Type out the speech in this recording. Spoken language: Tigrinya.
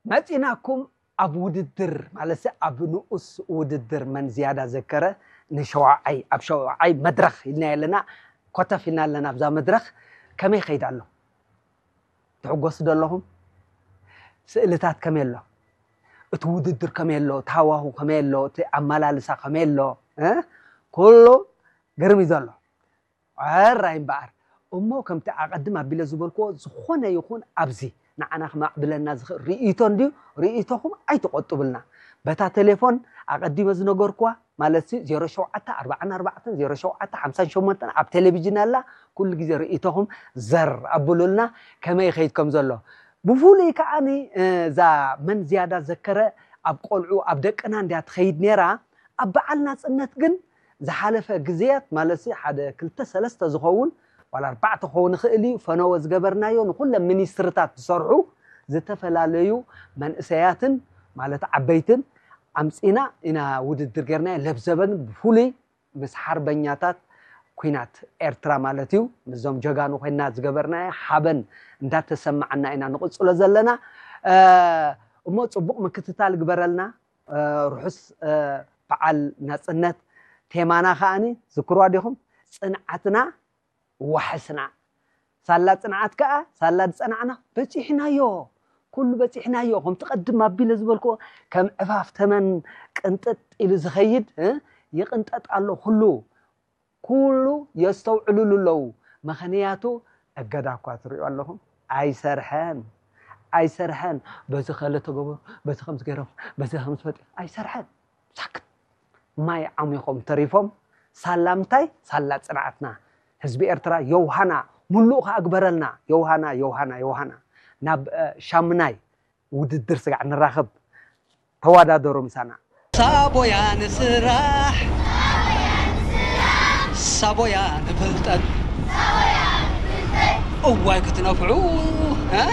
መፂናኩም ኣብ ውድድር ማለት ኣብ ንኡስ ውድድር መን ዝያዳ ዘከረ ንሸዋዓይ ኣብ ሸዋዓይ መድረኽ ኢልና ኣለና። ኮተፍ ኢልና ኣለና ኣብዛ መድረኽ። ከመይ ይኸይድ ኣሎ? ትሕጎሱ ዶ ኣለኹም? ስእልታት ከመይ ኣሎ? እቲ ውድድር ከመይ ኣሎ? እቲ ሃዋሁ ከመይ ኣሎ? እቲ ኣመላልሳ ከመይ ኣሎ? እ? ኩሉ ግርም እዩ ዘሎ። ሕራይ እምበኣር እሞ ከምቲ ኣቐድም ኣቢለ ዝበልክዎ ዝኾነ ይኹን ኣብዚ ንዓና ክማዕብለና ዝኽእል ርእይቶ እንድዩ። ርእይቶኹም ኣይትቆጥብልና። በታ ቴሌፎን ኣቐዲመ ዝነገርክዋ ማለት ዜሮ ሸውዓተ ኣርባዓን ኣርባዕተን ዜሮ ሸውዓተ ሓምሳን ሸሞንተን ኣብ ቴሌቪዥን ኣላ። ኩሉ ግዜ ርእይቶኹም ዘር ኣብሉልና ከመይ ይኸይድ ከም ዘሎ። ብፍሉይ ከዓኒ እዛ መን ዝያዳ ዘከረ ኣብ ቆልዑ ኣብ ደቅና እንድያ ትኸይድ ነይራ። ኣብ በዓል ናፅነት ግን ዝሓለፈ ግዜያት ማለት ሓደ ክልተ ሰለስተ ዝኸውን ዋላ ኣርባዕተ ክኸውን ይኽእል እዩ ፈነወ ዝገበርናዮ ንኩለን ሚኒስትርታት ዝሰርሑ ዝተፈላለዩ መንእሰያትን ማለት ዓበይትን ኣምፂና ኢና ውድድር ጌርናዮ። ለብዘበን ብፍሉይ ምስ ሓርበኛታት ኩናት ኤርትራ ማለት እዩ ምስዞም ጀጋኑ ኮይና ዝገበርናዮ ሓበን እንዳተሰማዓና ኢና ንቕፅሎ ዘለና። እሞ ፅቡቕ ምክትታል ግበረልና። ርሑስ በዓል ናፅነት። ቴማና ከዓኒ ዝክርዋ ዲኹም? ፅንዓትና ዋሕስና። ሳላ ፅንዓት ከኣ ሳላ ዝፀናዕና በፂሕናዮ። ኩሉ በፂሕናዮ። ከምቲ ቀድም ኣቢለ ዝበልክዎ ከም ዕፋፍ ተመን ቅንጥጥ ኢሉ ዝኸይድ ይቅንጠጥ ኣሎ ኩሉ። ኩሉ የስተውዕሉሉ ኣለዉ። ምኽንያቱ እገዳ እኳ ትሪኡ ኣለኹም ኣይሰርሐን። ኣይሰርሐን። በዚ ከለ ተገበሩ፣ በዚ ከምዚ ገይሮም፣ በዚ ከምዚ ፈጢሩ ኣይሰርሐን። ሳክት ማይ ዓሚኾም ተሪፎም። ሳላ ምንታይ? ሳላ ፅንዓትና። ህዝቢ ኤርትራ የውሃና ሙሉእ ከኣ ግበረልና። የውሃና የውሃና የውሃና ናብ ሻምናይ ውድድር ስጋዕ ንራኸብ። ተወዳደሩ ምሳና። ሳቦያ ንስራሕ ሳቦያ ንፍልጠት እዋይ ክትነፍዑ እ?